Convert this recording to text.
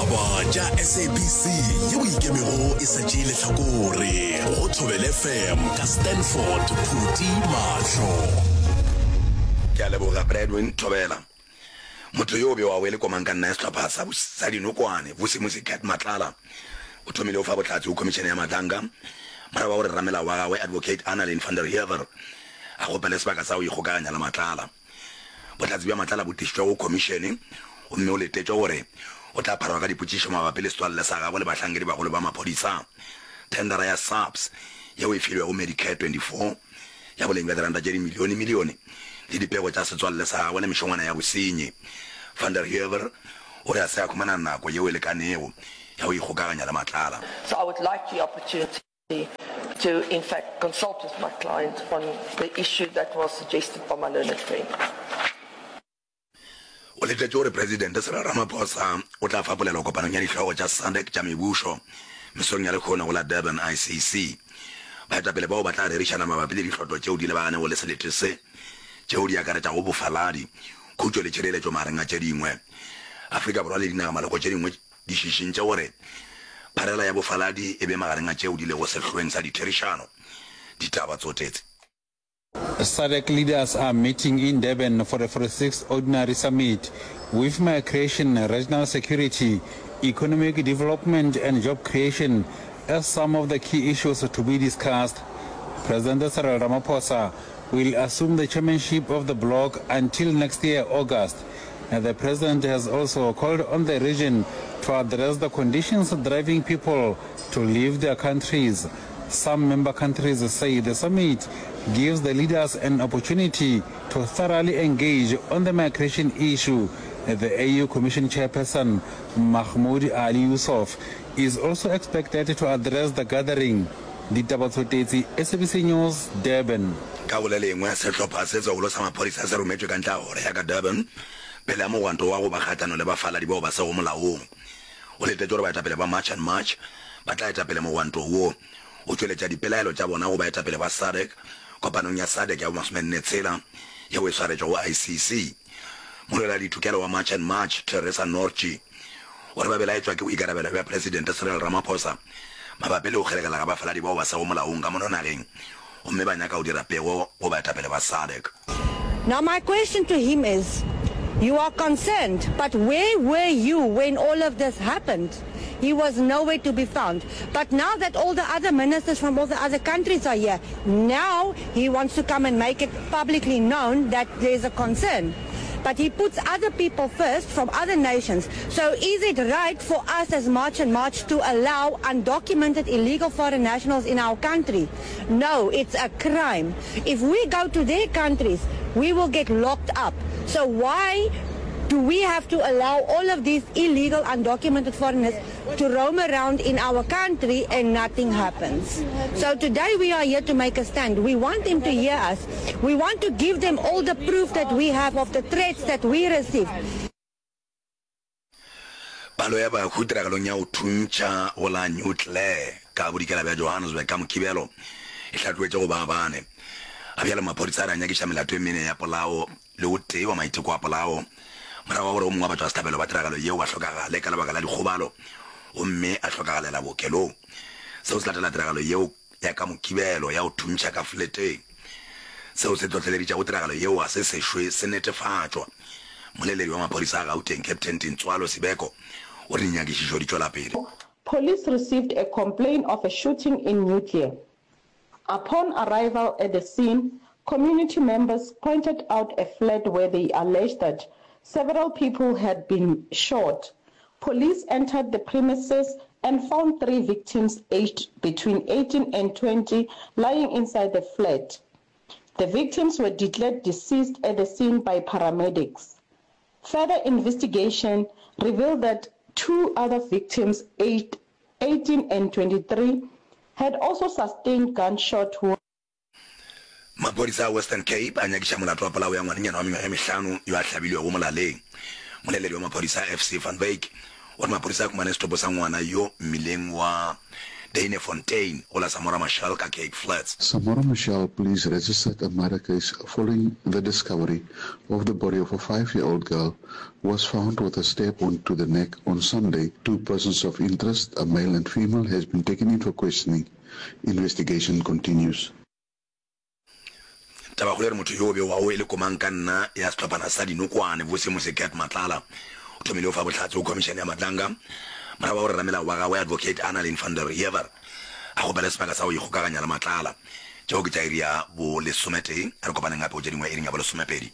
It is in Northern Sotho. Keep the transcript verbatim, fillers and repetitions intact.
Ditaba tša S A B C yeo ikemego e sa tšee lehlakore go Thobela F M ka Stanford Phuti Mahlo. Ke a leboga Bradwin. Thobela. Motho yo o bewago e le komangkanna ya sehlopha sa sa dinokwane, Vusimusi Cat Matlala, o thomile go fa bohlatse go Khomišene ya Madlanga morago ga gore ramelao wa gagwe Advocate Annalene van der Heever a kgopele sebaka sa go ikgokaganya le Matlala. Bohlatse bja Matlala bo tlišitšwe go khomišene gomme o letetšwe gore o tla pharwa ka dipotšišo mabapi le setswalle sa gagwe le bahlankedibagolo ba maphodisa, thendara ya SAPS yeo e filwego Medicare twenty-four ya boleng bja diranta tše dimilionemilione le dipego tša setswalle sa gagwe le mešongwana ya bosenyi. Van der Heever o re a se a humana nako yeo e lekanego ya go ikgokaganya le Matlala. So I would like the opportunity to in fact consult with my client on the issue that was suggested by my learned friend. O letetše gore Presidente Cyril Ramaphosa o tla fa polelo kopanong ya dihlogo tša SADC tša mebušo mesong ya lehono go la Durban I C C. Baetapele bao ba tla rerišana mabapi le dihlotlo tšeo di lebaganego le selete se, tšeo di akaretšago bofaladi, khutšo le tšhireletšo magareng a tše dingwe. Afrika Borwa le dinagamaloko tše dingwe di šišintše gore pharela ya bofaladi e be magareng a tšeo di lego sehloeng sa ditherišano. Ditaba tsotetse. SADC leaders are meeting in Durban for the forty-sixth Ordinary Summit with migration, regional security, economic development and job creation as some of the key issues to be discussed. President Cyril Ramaphosa will assume the chairmanship of the bloc until next year, August. The president has also called on the region to address the conditions driving people to leave their countries. Some member countries say the summit gives the leaders an opportunity to thoroughly engage on the migration issue. The A U Commission chairperson, Mahmoud Ali Youssouf, is also expected to address the gathering. Ditaba Tshotetsi, S A B C News, Durban. Ka go le lengwe, sehlopha se segolo sa maphodisa se rometšwe ka ntle ga kgoro ya ka Durban pele ga mogwanto wa go ba kgahlano le bafaladi bao ba sego molaong. Go letetšwe gore baetapele ba March and March ba tla eta pele mogwanto wo go tšweletša dipelaelo tša bona go baetapele ba SADC kopanong ya SADC ya bomasomenne tshela yeo e swaretšwego I C C. Molweladitokelo wa March and March, Teresa Nortje, o re ba belaetšwa ke boikarabelo bja Presidente Cyril Ramaphosa mabapi le go kgeregela ga bafaladi bao ba sego molaong ka mono nageng gomme ba nyaka go dira pego go baetapele ba SADC. Now my question to him is, you are concerned, but where were you when all of this happened? He was nowhere to be found. But now that all the other ministers from all the other countries are here, now he wants to come and make it publicly known that there's a concern. But he puts other people first from other nations. So is it right for us as March and March to allow undocumented illegal foreign nationals in our country? No, it's a crime. If we go to their countries, we will get locked up. So why do we have to allow all of these illegal, undocumented foreigners to roam around in our country and nothing happens? So today we are here to make a stand. We want them to hear us. We want to give them all the proof that we have of the threats that we receive. Palo ya bahu tiragalong ya go thuntšha go la New Clare ka bodikela bja Johannesburg ka Mokibelo e hlatloetše go ba bane. Ga bjale maphodisa a re a nyakiša melato e mene ya polao le o tee wa maiteko a polao morago ga gore o mongwe wa batšwasehlabelo ba tiragalo yeo a hlokagale ka lebaka la dikgobalo gomme a hlokagalela bookelong. Seo se latela tiragalo yeo ya ka Mokibelo ya go thuntšha ka fleteng. Seo se hlohleleditšego tiragalo yeo ga se sešwe se netefatšwa. Mmoleledi wa maphodisa a Gauteng, Captain Tintswalo Sibeko, o re dinyakišišo di tšwela pele. Police received a complaint of a shooting in Newclear. Upon arrival at the scene, community members pointed out a flat where they alleged that several people had been shot. Police entered the premises and found three victims aged between eighteen and twenty lying inside the flat. The victims were declared deceased at the scene by paramedics. Further investigation revealed that two other victims aged eighteen and twenty-three had also sustained gunshot wounds. Maphodisa a Western Cape a nyakiša molato wa polao ya ngwanenyana wa mengwaga e mehlano yo a hlabilwego molaleng. Moleledi wa maphodisa F C Van Wyk o re maphodisa a humane setopo sa ngwana yo mmileng wa Duynefontein go la Samora Machel ka Cape Flats. Samora Machel police registered a murder case following the discovery of the body of a five-year-old girl who was found with a stab wound to the neck on Sunday. Two persons of interest, a male and female, has been taken in for questioning. Investigation continues. Tabakgolo e re motho yo o bewago e le komangkanna ya sehlophana sa dinokwane, Vusimusi Cat Matlala, o thomile go fa bohlatse go Khomišene ya Madlanga morago ga gore ramelao wa gagwe Advocate Annalene van der Heever a kgopele sebaka sa go ikgokaganya le Matlala. Tšeo ke tša iri ya bolesometee. A re kopaneng gape go tše dingwe iring ya bolesomepedi.